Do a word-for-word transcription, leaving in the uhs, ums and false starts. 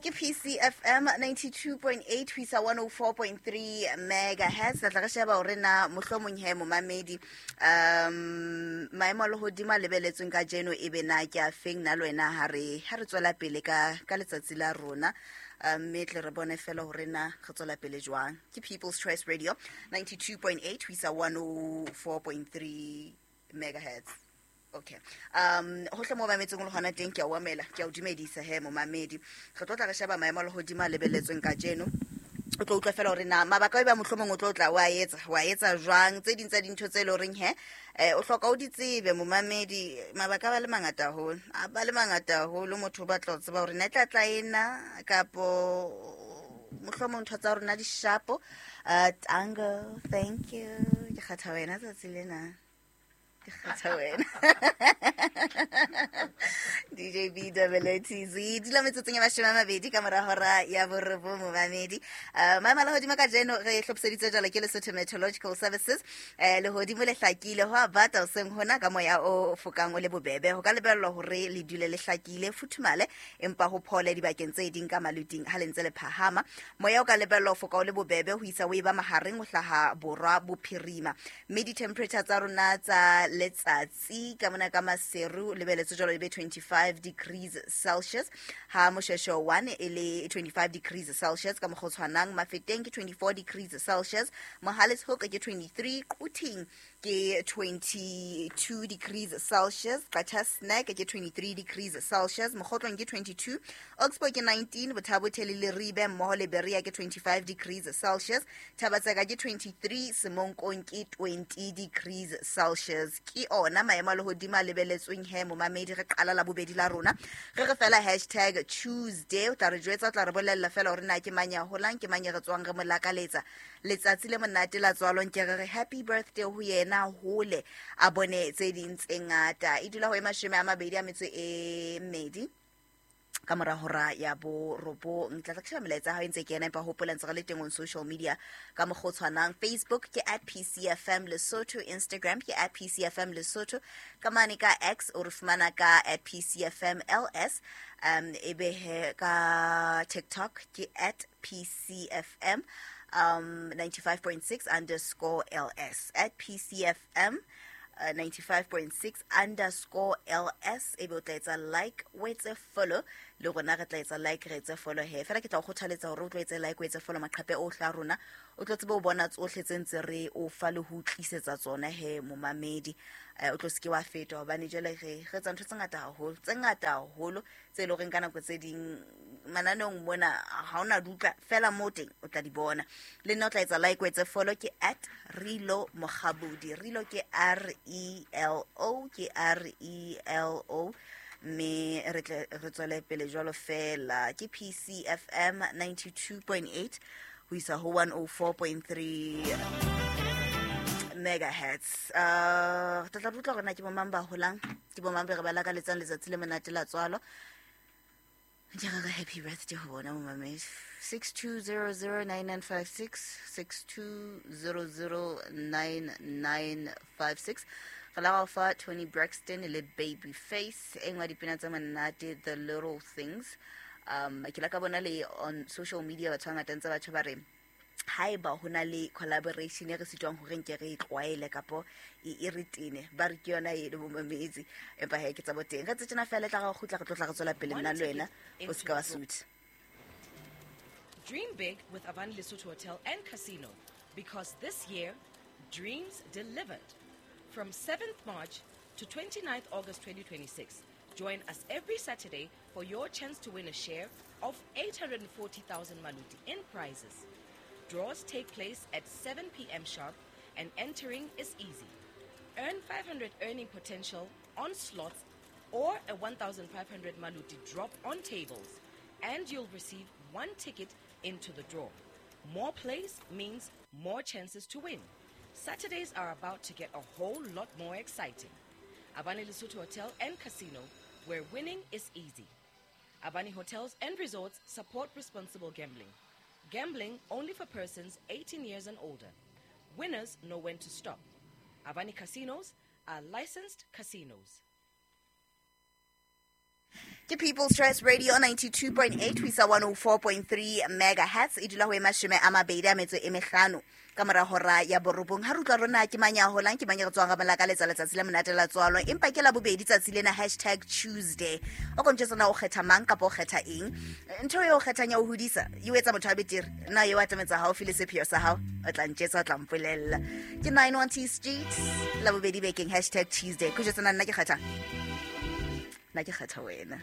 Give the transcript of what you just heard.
Ke P C F M ninety-two point eight ho isa one oh four point three megahertz. Re tla re sheba hore na mohlomong he, momamedi, um maemo a lehodimo a lebeletsweng kajeno e be na ke a feng, na le wena ha re ha re tswela pele ka ka letsatsi la rona, um, mme tle re bone fela hore na re tswela pele jwang. Ke People's Choice Radio, ninety-two point eight ho isa one oh four point three megahertz. Okay, um hohle mo mametseng le hona teng, ke a o amela, ke a o dumedisa he, momamedi. Re tlo tla re sheba maemo a lehodimo a lebelletsweng kajeno. O tlo utlwa fela hore na mabaka a e ba mohlomong o tlo tla wa etsa wa etsa jwang tse ding tsa dintho tse leng horeng he eh o hloka o di tsebe, momamedi. Mabaka a ba le mangata haholo, a ba le mangata haholo. Motho o batla ho tseba hore na e tla tla ena kapo mohlomong ntho tsa rona di shapo. uh tango thank you, ke kgatha wena tsatsi lena, ke kgatha wena, D J B W T Z. Dula metsotsong ya mashome a mabedi ka mora hora ya borobong, momamedi. uh, maemo a lehodimo kajeno re hlophiseditse jalo ke Lesotho Meteorological Services. um lehodimo le hlakile, ho a bata hoseng hona ka moya o fokang o le bobebe. Ho ka lebellwa hore le dule le hlakile, futhumale, empa ho phole dibakeng tse ding ka maluting. Ha le ntse le phahama, moya o ka lebellwa ho foka o le bobebe ho isa o e ba mahareng ho hlaha borwa bophirima, mme di-temperature tsa rona tsa letsatsi ka mona ka Maseru lebeletswe jwalo e be twenty-five degrees Celsius, ha Moshweshwe one e le twenty-five degrees Celsius. Ka mokgwa o tshwanang, Mafeteng ke twenty-four degrees Celsius, Mohale's Hoek ke twenty-three, Quthing ke twenty-two degrees Celsius, Qacha's Nek ke twenty-three degrees Celsius, Mokhotlong ke twenty-two, Oxbow ke nineteen, Botha-Bothe le Leribe mmoho le Berea ke twenty-five degrees Celsius, Thaba-Tseka ke twenty-three, Semonkong ke twenty degrees Celsius. Ke ona maemo a lehodimo a lebeletsweng he, momamedi. Re qala la bobedi la rona, re re fela hashtag Tuesday. O tla re jwetsa, o tla re bolella fela hore na ke mang ya holang, ke mang ya re tswang re mo lakaletsa letsatsi le monate la tswalong. Ke re re happy birthday ho yena, hole a bone tse ding tse ngata. E dula ho e mashome a mabedi a metso e mmedi ka mora hora ya borobong. Tla tla ke sheba melaetsa ya hao e ntse kena, empa hopola ntse re le teng on social media ka mokgwa o tshwanang. Facebook ke at P C F M Lesotho, Instagram ke at P C F M Lesotho, ka mane ka X o re fumana ka at P C F M L S, um ebe he ka TikTok ke at P C F M um ninety-five point six underscore L S, at P C F M uh, ninety-five point six underscore L S. Ebe o tla etsa like, o etse follow, le rona re tla etsa like, re etse follow he. Fela ke tla o kgothaletsa hore o tlo etse like, o etse follow maqhepe ohle a rona, o tlo tsebe o bona tsohle tse ntse re o fa le ho tlisetsa tsona he, momamedi. eh, o tlo seke wa feta, hobane jwale re re etsa ntho tse ngata haholo, tse ngata haholo, tse leng horeng ka nako tse ding mananeong mona ha ona dutla fela mo teng, o tla di bona. Le nna o tla etsa like, o etse follow, ke at Relo Mokgabudi. Relo ke R E L O, ke R E L O, mme re tle re tswele pele jwalo fela. Ke P C F M ninety-two point eight ho isa ho one oh four point three megahertz. uh re tla tla utlwa hore na ke bomang ba holang, ke bomang be re ba lakaletsang letsatsi le monate la tswalo. Ke re re happy birthday ho bona, momamedi. six two zero zero nine nine five six, six two zero zero nine nine five six. Re la fa Toni Braxton le Babyface, e nngwe ya dipina tsa monate, "The Little Things". um ke la ka bona le on social media batho ba ngata ntse batho ba re haeba ho na le collaboration e re sitwang hore nke re e tlwaele kapo e e re tene, ba re ke yona e le bomamedi. Empa he, ke tsa bo teng, re tse tjena fela e tla re kgutla, re tlo tla re tswela pele nna le wena, o se ka wa sutha. Dream big with Avani Lesotho Hotel and Casino, because this year, dreams delivered. From seventh March to twenty-ninth August twenty twenty-six, join us every Saturday for your chance to win a share of eight hundred forty thousand maluti in prizes. Draws take place at seven p m sharp and entering is easy. Earn five hundred earning potential on slots or a one thousand five hundred maluti drop on tables, and you'll receive one ticket into the draw. More plays means more chances to win. Saturdays are about to get a whole lot more exciting. Avani Lesotho Hotel and Casino, where winning is easy. Avani Hotels and Resorts support responsible gambling. Gambling only for persons eighteen years and older. Winners know when to stop. Avani Casinos are licensed casinos. Ke People's Choice Radio ninety-two point eight ho isa one oh four point three megahertz. E dula ho e mashome a mabedi a metso e mehlano ka mora hora ya borobong. Ha re utlwa rona ke mang ya holang, ke mang ya re tswang ra ka letsa letsatsi la monate la tswalo, empa ke la bobedi tsatsi lena hashtag Tuesday. O ko ntjwetsa na o kgetha mang kapa o kgetha eng? Ntho eo o kgethang ya ho hodisa e o etsa motho a betere. Na eo atametsa haufi le sepheo sa hao? O tla ntjwetsa, o tla mpolella. Ke nine one T Street la bobedi bekeng hashtag Tuesday. Ko jwetsa na nna ke kgetha? Nna ke kgetha wena.